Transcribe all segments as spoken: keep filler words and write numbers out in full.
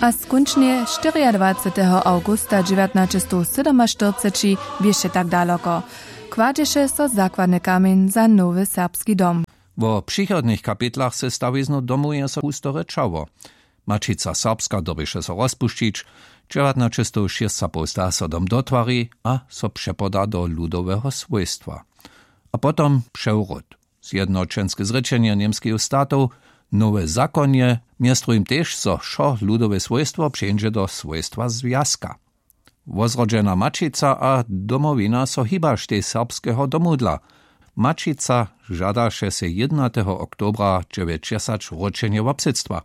A skónčnje štyriadwaceteho awgusta dźewjatnaćestowsydomaštyrceći běše tak daloko, kładźeše so zakładny kamjeń za nowy serbski dom. Wo přichodnych kapitlach ze stawiznu domuje so husto rěčało. Maćica serbska dyrbješe so rozpušćić, dźewjatnaćestowšěsćapołsta so dom dotwari a so přepoda do ludoweho swójstwa. A potom přewrót, zjednoćenske zrěčenje němskeju statow, nowe zakonje, mjez druhim tež zo wšo ludowe swójstwo přeńdźe do swójstwa zwjazka. Wozrodźena maćica a domowina so hibaštej serbskeho domu dla. Maćica žadaše sej jědnateho oktobra dźewjećdźesać wróćenje wobsydstwa.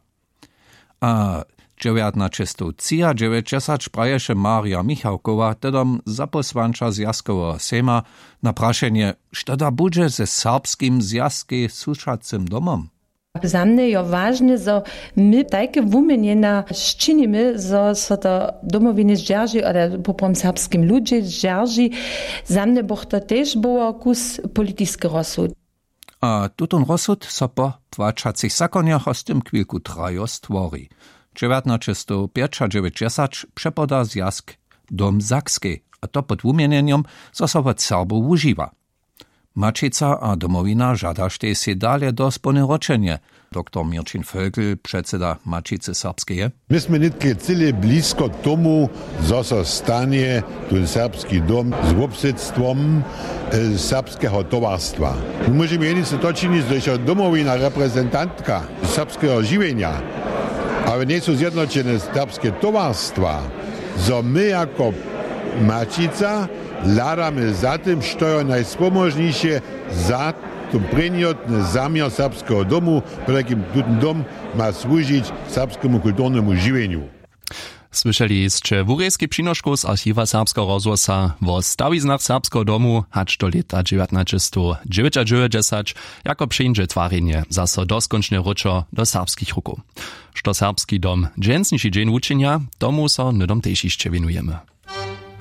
A dźewjatnaćestowtřiadźewjećdźesać praješe marja michałkowa tedom zapósłanča zwjazkoweho sejma na prašenje, što da budźe ze serbskim zwjazkej sušacym domom. Za mnje jo wažne, zo my tajke wuměnjena sčinimy, zo so to domowiny zdźerži ale poprom serbskim ludźe zdźerži. Za mnje bych to tež było kus politiskeho sud. A tutón rozsud so po płaćacych zakonjoch a z tym chwilku trajo stwori. Dźewjatnaćestowpjećadźewjećdźesać přepoda zwjazk dom sakskej, a to pod wuměnjenjom, zo so wot serbow wužiwa. Maćica a domowina žadaštej sej dale do spónne ročenje. Doktor měrćin völkel, předseda maćicy serbskeje. My smy nětke cyle blisko tomu, zo so stanje tón serbski dom z wobsydstwom serbskeho towarstwa. My móžemy jenice to činić, zo je domowina reprezentantka serbskeho žiwjenja, ale njejsu zjednoćene serbske towarstwa, zo my jako maćica hladamy za tym, što jo najspomóžniše za to prěnjotny zaměr serbskeho domu, potajkim tutón dom ma słužić serbskemu kulturnemu žiwjenju. Słyšeli sće wurejski přinoškow z archiwa serbskeho rozhłosa wo stawiznach serbskeho domu hač do lěta dźewjatnaćestowdźewjećadźewjećdźesać, jako přińdźe twarjenje zaso doskónčnje wróćo do serbskich rukow. Što serbski dom dźensniši dźeń wučinja, tomu so hnydom tež hišće wěnujemy.